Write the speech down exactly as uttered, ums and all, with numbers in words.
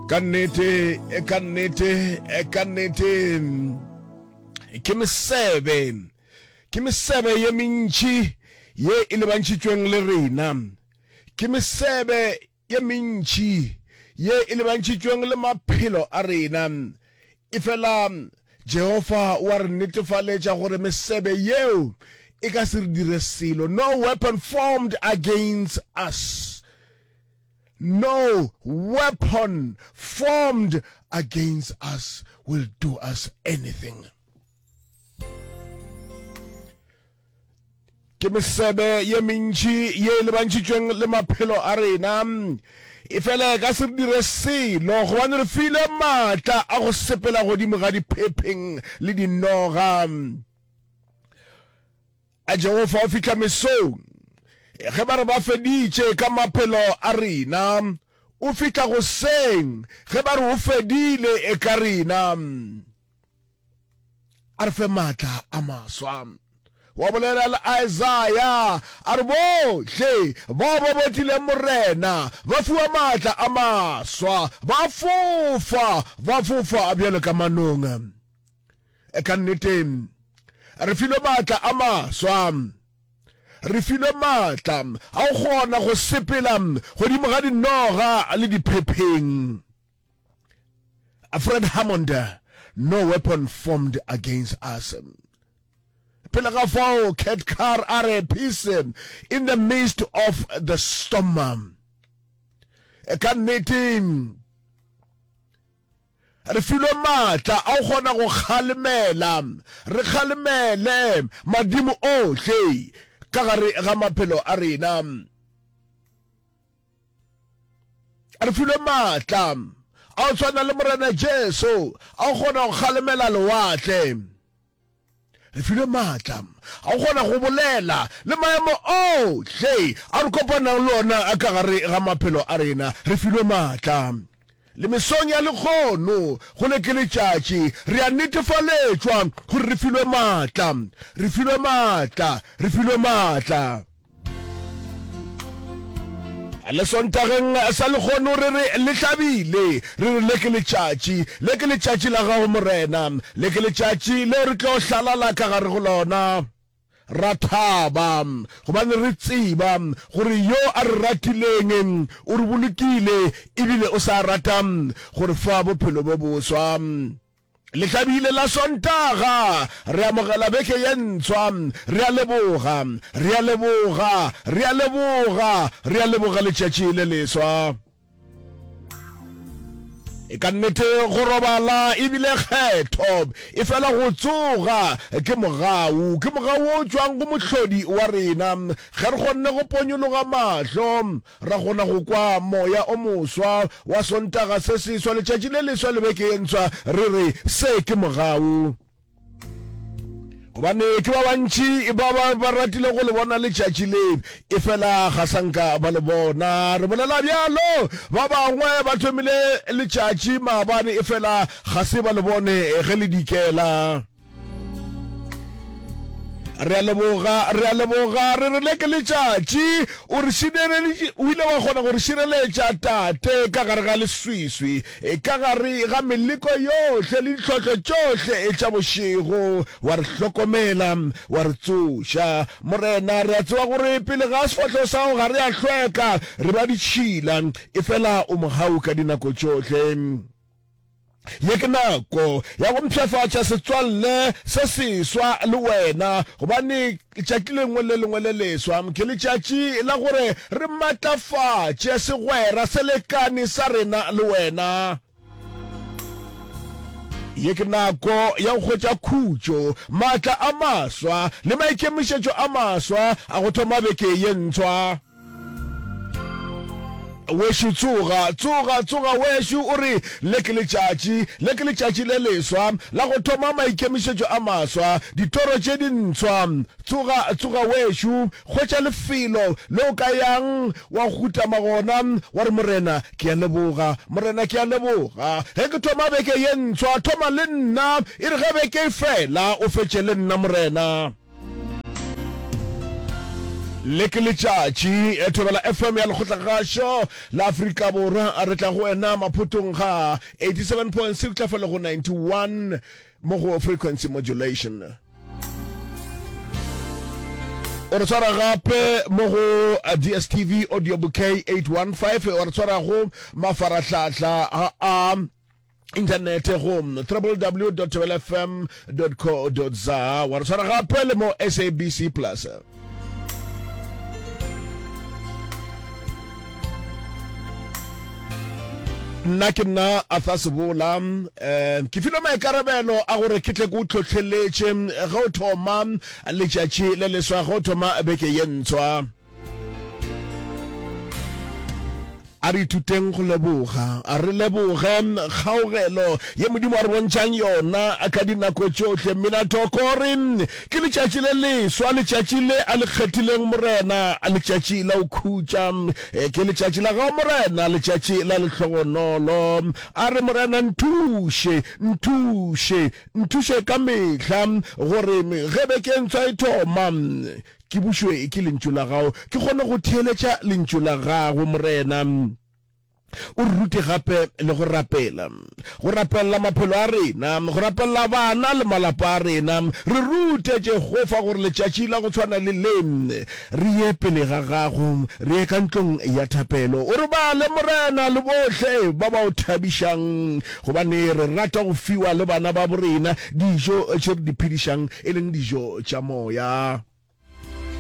Ka nnete, ka nnete, ka nnete, ke mesebe, ke mesebe ye mentši ye e lebantšhitšweng le rena. Ke mesebe ye mentši ye e lebantšhitšweng le maphelo a rena. Efela Jehofa o a re netefaletša gore mesebe yeo e ka se re dire selo. No weapon formed against us. No weapon formed against us will do us anything. Ke mesebe ye mentši ye e lebantšhitšweng le maphelo a rena. Efela e ka se re dire selo, gobane re filwe maatla a go sepela godimo ga diphepheng le dinoga. A Jehofa o fihla mesong ge ba re ba feditše ka maphelo a rena, o fihla goseng ge ba re o fedile ka rena. A re fe maatla a maswa. Wa bolela le Isaya a re, Bohle bao ba botileng Morena ba fiwa maatla a maswa, ba fofa, ba fofa bjalo ka manong. Ka nnete, re filwe maatla a maswa. Re filwe maatla a go kgona go sepela godimo ga dinoga le diphepheng. Fred Hammond, No weapon formed against us. Pele ga fao, Kurt Carr a re, Peace in the midst of the storm. Ka nnete, Re filwe maatla a go kgona go kgalemela, re kgalemele madimo ohle ka gare ga maphelo a rena. Re filwe maatla a go tshwana le Morena Jesu a go kgona go kgalemela lewatle. Re filwe maatla a go kgona go bolela le maemo ohle a re kopanang le ona ka gare ga maphelo a rena. Re filwe maatla. Le mesong ya lekgono, go le ke letšatši, re a netefaletšwa gore re filwe maatla. Re filwe maatla. Re filwe maatla. Le Sontageng sa lehono re re le hlabile, re re le ke letšatši, le ke letšatši la gago Morena, le ke letšatši leo re tlo hlalala ka gare go lona, ra thaba, gobane re tseba gore yo a re ratileng o re bolokile ebile o sa rata go re fa bophelo bo boswa. Lehlabile la Sontaga, re amogela beke ye ntshwa. Re a leboga, re a leboga, re a leboga, re a leboga letšatši le leswa. E ka nnete go robala e bile kgetho, efela go tsoga ke mogau, ke mogau wo o tšwang go Mohlodi wa rena. Ge re kgonne go ponyologa mahlo, Ra kgona go kwa moya o moswa wa Sontaga se seswa, letšatši le leswa le beke ye ntshwa, re re, Se ke mogau. Gobane ke ba bantši ba ba ba ratile go le bona letšatši le, efela ga sa nka ba le bona. Re bolela bjalo, ba bangwe ba thomile letšatši maabane, efela ga se ba le bone ge le dikela. Re a leboga, re a leboga, re re le ke letšatši. O re šireleditše, o ile wa kgona go re šireletša, Tate, ka gare ga leswiswi, ka gare ga meleko yohle le ditlhohlo tšohle tša bošego. Wa re hlokomela, wa re tsoša. Morena, re a tseba gore pele ga sefahlogo sa gago ga re a hlweka, re ba ditšhila, efela o mogau ka dinako tšohle. Ye ke nako ya go mpshafatša setswalle se seswa le wena, gobane letšatši lengwe le lengwe le leswa ke letšatši la gore re matlafatše segwera selekane sa rena le wena. Ye ke nako ya go hwetša khutšo, maatla a maswa le maikemišetšo a maswa a go thoma beke ye ntshwa. Wešo tsoga, tsoga, tsoga wešo, o re, Le ke letšatši, le ke letšatši le leswa la go thoma maikemišetšo a maswa, ditoro tše dintshwa. Tsoga, tsoga wešo, hwetša lefelo le o ka yang wa hutama gona, wa re, Morena, ke a leboga, Morena, ke a leboga. Ge ke thoma beke ye ntshwa, thoma le nna, e re ge beke e fela, o fetše le nna, Morena. Le ke letšatši, Thobela F M ya Lekgotlagašo la Afrika Borwa. Re tla go wena maphotong ga eighty-seven point six tla fa le go ninety-one mo go frequency modulation. O re tshwara gape mo go D S T V audio bouquet eight one five, wa re tshwara go mafarahlahla a inthanete go W W W dot thobelafm dot co dot za, wa re tshwara gape le mo S A B C Plus. Nna ke nna Arthur Sebola, um ke filwe maikarabelo a gore ke tle ke o tlhotlheletše ge o thoma letšatši le leswa, ge o thoma beke ye ntshwa. A re ithuteng go leboga, a re leboge kgaogelo ye Modimo a re bontšhang yona ka dinako tšohle. Minathoko re ke letšatši le leswa, letšatši le a le kgethileng Morena, letšatši la go khutša. Ke letšatši la gago Morena, letšatši la lehlogonolo. A re Morena nthuše, nthuše, nthuše ka mehla gore ge beke e ntshwa e thoma, ke bušwe ke lentšu la gago, ke kgone go theeletša lentšu la gago Morena. O re rute gape le go rapela, go rapelela maphelo a rena, go rapelela bana le malapa a rena. Re rute Jehofa gore letšatši la go tshwana le le re ye pele ga gago, re ye ka ntlong ya thapelo. O re bale Morena le bohle ba ba o thabišang, gobane re rata go fiwa le bana ba borena dijo tše re di phedišang, e leng dijo tša moya.